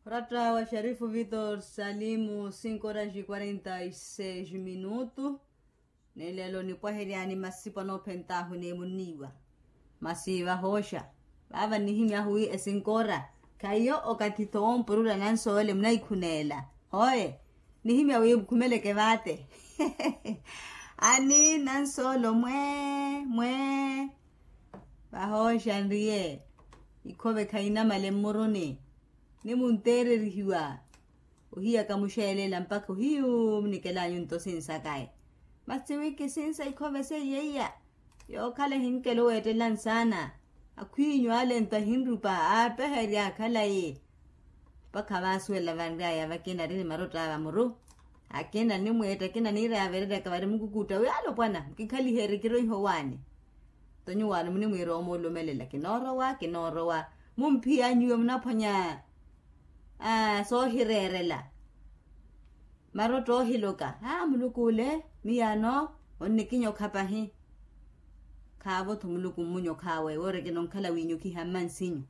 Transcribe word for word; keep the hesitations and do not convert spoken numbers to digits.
Oratta wa xarifu vitor salimu cinco horas de quarenta e seis minutu. Ni lelo nipwaheryani masipo anoophentaahu ni munniiwa. Masi vahooxa, vaava nnihimyahu wi esinkora khaiyo okathi-tho woompurula nansoole munaikhuneela. Hoe, nihimya wi mukhumeleke vaate. Ani nansoolo mwee mwee. Vahooxa nriye, ikhove khainamale mmuruni. Ni munteererihiwa, ohiyaka muxeelela mpakha ohiyu munikelanyu nto sinsakaye. Masi wi kisinsa ikhove seiya iya, yookhala ehinkelo weettela nsaana. Akhwinyu ale nto ahinrupa aapeherya khalayi. Mpakha vaasuwela vanryaya vakina ari ni marotto a vamuru. Akina nimweetta akina niiraya vereryaka vari mukukutta wi alopwana mukikhaliherye kiroiho waani. Nto nyuwaano munimwiira omuulumelela kinoorowa kinoorowa. Mumphiya nyuwo munaphwanya soohireerela. Marotto oohiloka aa muluku ole, miyaano onnikinyokha pahi. Khaavo-tho muluku mmunyokhaawe woori kinonkhala wiinyokiha mmansinyu.